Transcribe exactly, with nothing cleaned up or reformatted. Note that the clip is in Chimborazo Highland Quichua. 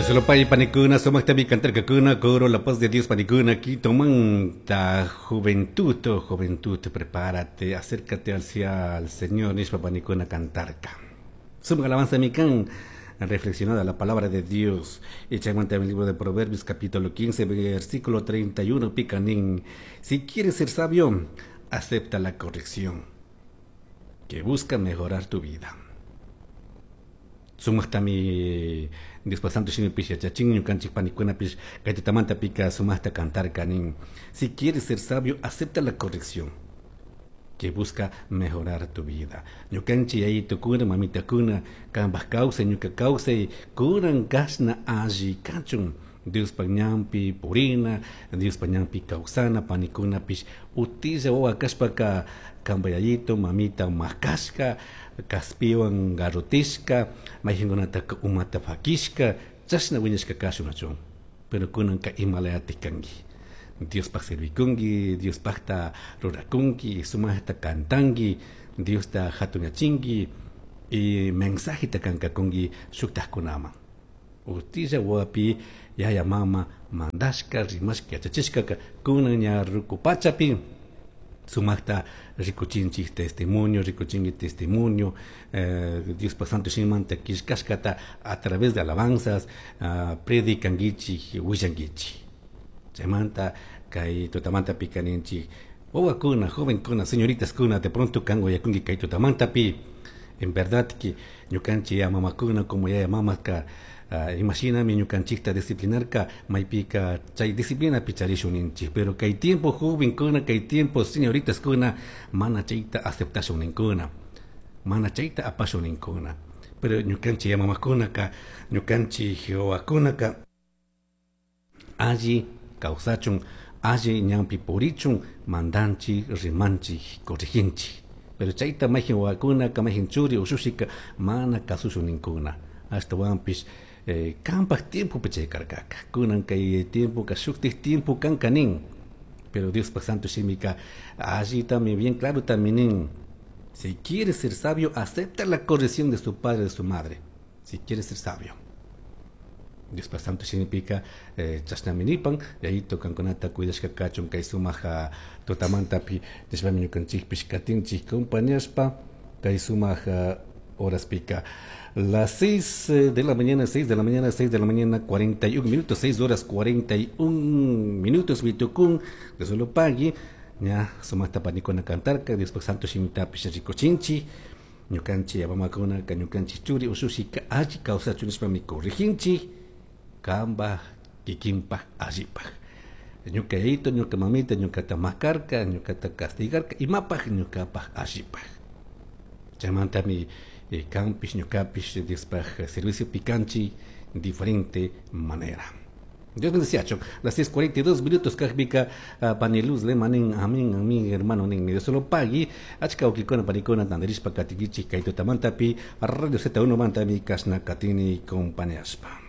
Solopay panikuna, sumaqtami cantarkakuna, coro la paz de Dios panikuna, Quitomanta, juventud, juventud, prepárate, acércate hacia el Señor, nishpa panikuna cantarka. Sumaq alabanza mikan, reflexionada la palabra de Dios. Y chaymanta el libro de Proverbios, capítulo quince, versículo treinta y uno, picanín. Si quieres ser sabio, acepta la corrección que busca mejorar tu vida. Sumaqtami Dios santo shimipish yachachin ñukanchik panikunapish kay tutamanta pika sumaqta cantarka nin. Si quieres ser sabio, acepta la corrección que busca mejorar tu vida. Ñukanchik yayitukuna, mamitakuna, kanpaj kawsay, ñuka kawsay, kunan kashna alli kachun. Diospa ñanpi purina, Diospa ñanpi kawsana, panikunapish utilla wawa kashpaka kanpa yayito, mamita makashka, kaspiwan garrotishka, mayqinkunataka umata fakishka, chashna wiñashka kashunachun. Pero kunanka imalayatik kanki. Diospaj servikunki, Diospajta rurakunki, sumaqta cantanki, Diosta hatunyachinki y mensajeta kankakunki shuktajkunaman. Utilla wawapi yaya mama mandashka, rimashka, yachachishkaka kunan ña ruku pachapi sumaqta rikuchinchik testimonio, rikuchinki testimonio, eh, Diospa santo shimimanta killkashkata a través de alabanzas, uh, predicankichik, willankichik. Chaymanta kay tutamanta pikaninchik wawakuna, jovenkuna, señoritas kuna, de pronto kan uyakunki kay tutamantapi. En verdad que ñukanchik ya mamakuna como yaya mamaka, uh, imashinami ñukanchikta disciplinarka maypika chay disciplina picharishun ninchik, pero kay tiempo jovenkuna, kay tiempo señoritas kuna mana chayta aceptashun ninkuna, mana chayta apashun ninkuna. Pero ñukanchik ya mamakunaka, ñukanchik wawakunaka alli kawsachun, alli ñanpi purichun, mandanchik, rimanchik, corriginchik. Pero chayta mayqin wawakunaka, mayqin churi ushushika mana kasushun ninkuna. Ashtawanpish eh, kanpaj tiempopi chay karkaka. Kunan kay tiempoka shuktik tiempo kanka nin. Pero Diospaj santo shimika allitami bien claro también nin. Si quieres ser sabio, acepta la corrección de su padre, de su madre. Si quieres ser sabio. Diospaj santo shimipika eh, chashnami nipan, yayito kankunata cuidashka kachun kay sumaja tutamantapi nishpami ñukanchikpish katinchik compañashpa kay sumaja horas pica. Las seis de la mañana, seis de la mañana, seis de la mañana, cuarenta y un minutos, seis horas cuarenta y un minutos, vitukun, de solo pagui, ya, sumata panikuna cantarka, Dios santo shimitapish rikuchinchi, ñukanchi yamamakuna, ka ñukanchi churi, ushushika, alli kawsachun nishpami corrijinchi, kamba, kikinpaj, allipaj. Ñuka yayito, ñuka mamita, ñukata makarka, ñukata castigarka, imapaj, ñukapaj, allipaj. Chaymantami eh, kanpish, ñukapish, Diospaj servicio picanchi, diferente manera. Dios bendice, las seis cuarenta y dos minutos, kajpika, uh, paniluz, le manin, amén, amén, hermano, nin, Dios solo pagui, achka ukikona, panikona, tanderishpa, katikichi, kaito tamantapi, Radio Z uno mantami, kasna, katini, compañaspa.